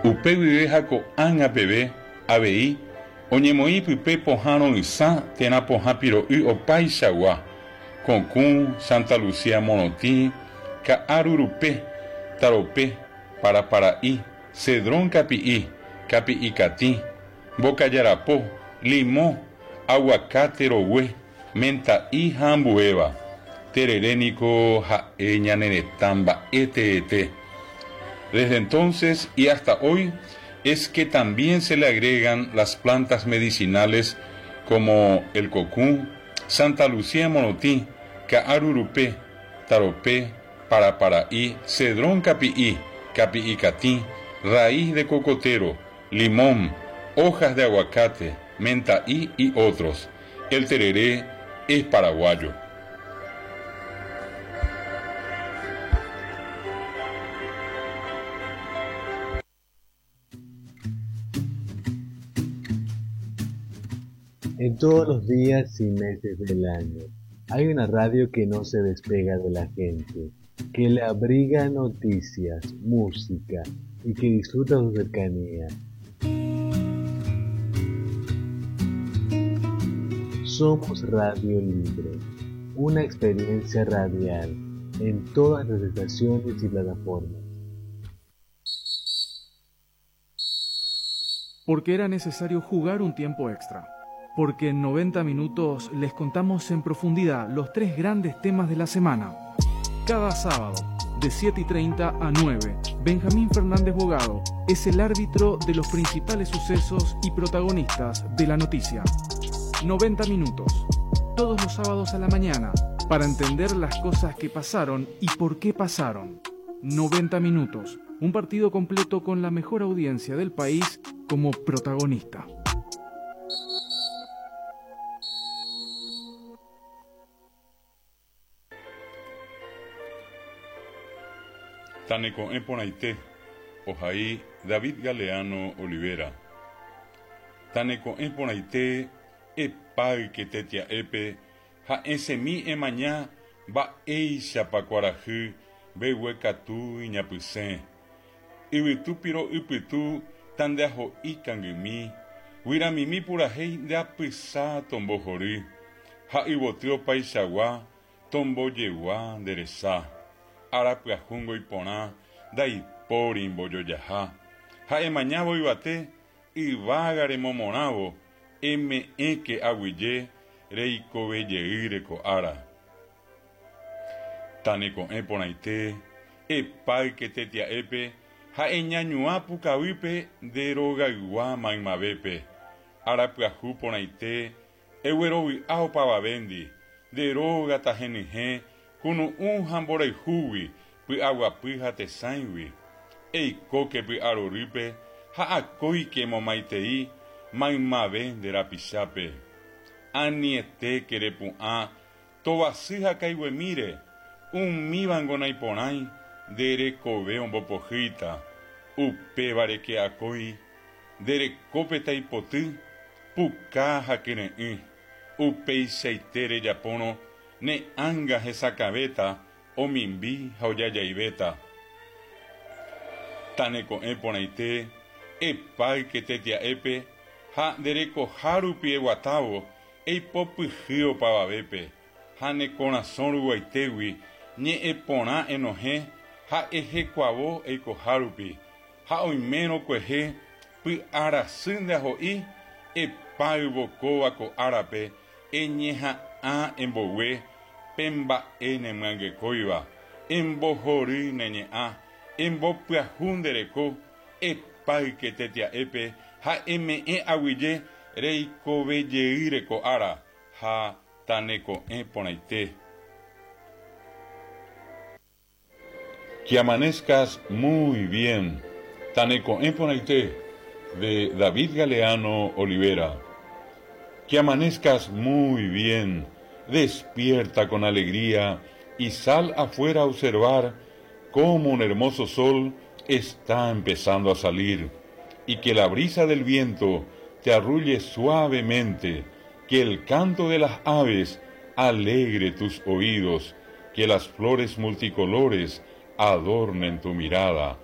Upe guive ha ko'ág̃a peve avei oñemoĩ pype pohã ro'ysã térã pohã piro'y opaichagua, kokũ, Santa Lucía morotĩ, ka'a rurupe, tarope, parapara'i, cedrón kapi'i, kapi'i katĩ, mbokajarapo, limõ, aguacate rogue, menta'i ha ambuéva. Terere niko ha'e ñane retã mba'e teete. Desde entonces y hasta hoy es que también se le agregan las plantas medicinales como el kokũ, Santa Lucía morotĩ, ka'a rurupe, tarope, parapara'i, cedrón kapi'i, kapi'i katĩ, raíz de cocotero, limón, hojas de aguacate, menta'i y otros. El tereré es paraguayo. En todos los días y meses del año hay una radio que no se despega de la gente, que le abriga noticias, música y que disfruta su cercanía. Somos Radio Libre, una experiencia radial en todas las estaciones y plataformas. Porque era necesario jugar un tiempo extra. Porque en 90 minutos les contamos en profundidad los tres grandes temas de la semana. Cada sábado, de 7 y 30 a 9, Benjamín Fernández Bogado es el árbitro de los principales sucesos y protagonistas de la noticia. 90 minutos, todos los sábados a la mañana, para entender las cosas que pasaron y por qué pasaron. 90 minutos, un partido completo con la mejor audiencia del país como protagonista. Taneko'ẽ porãite, ohai David Galeano Olivera. Taneko'ẽ porãite, epáyke tetia'épe ha esẽmi emaña mba'éichapa kuarahy mbeguekatu iñapysẽ. Yvytu piro'y pytu tandeaho'i kangymi, guyramimi purahéi nde apysa tombohory, ha yvoty opaichagua tombojegua nde resa. Ára pyahúngo iporã ndaipóri mbojojaha. Ha emañávo yvate, yvága remomorãvo, eme'ẽke aguyje reikove jeýre ko ára. Taneko'ẽ porãite, epáyke tetia'épe ha eñañuã pukavýpe nde rogaygua maymavépe. Ára pyahu porãite, eguerovy'a opavavéndi, nde róga tahenyhẽ kunu'ũ ha mborayhúgui, py'aguapy ha tesãigui. Eikóke py'arorýpe ha akóike emomaitei maymave nde rapichápe. Anietéke repu'ã Tovasy ha kaiguemíre, umívango naiporãi nde rekove ombopohýita, upévare ke akói nde rekópe taipoty, puka ha kyre'ỹ, upeichaite rejapórõ ne ánga hesakãvéta, omimbi ha ojajaivéta. Taneko'ẽ porãite, epáyke tetia'épe ha nde rekoha rupi eguatávo Eipopyhy opavavépe ha ne korasõ ruguaitégui ñe'ẽ porã enohẽ ha ehekuavo eikoha rupi, ha oimérõ kuehe py'a rasy nde aho'i, epáyvo kóva ko árape eñeha'ã embogue pe mba'e nemyangekóiva, embohory ne ñe'ã, embopyahu nde reko, Epáyke tetia'épe ha eme'ẽ aguyje reikove jeýre ko ára ha taneko'ẽ porãite. Que amanezcas muy bien, taneko'ẽ porãite, de David Galeano Olivera. Que amanezcas muy bien, despierta con alegría y sal afuera a observar cómo un hermoso sol está empezando a salir y que la brisa del viento te arrulle suavemente, que el canto de las aves alegre tus oídos, que las flores multicolores adornen tu mirada.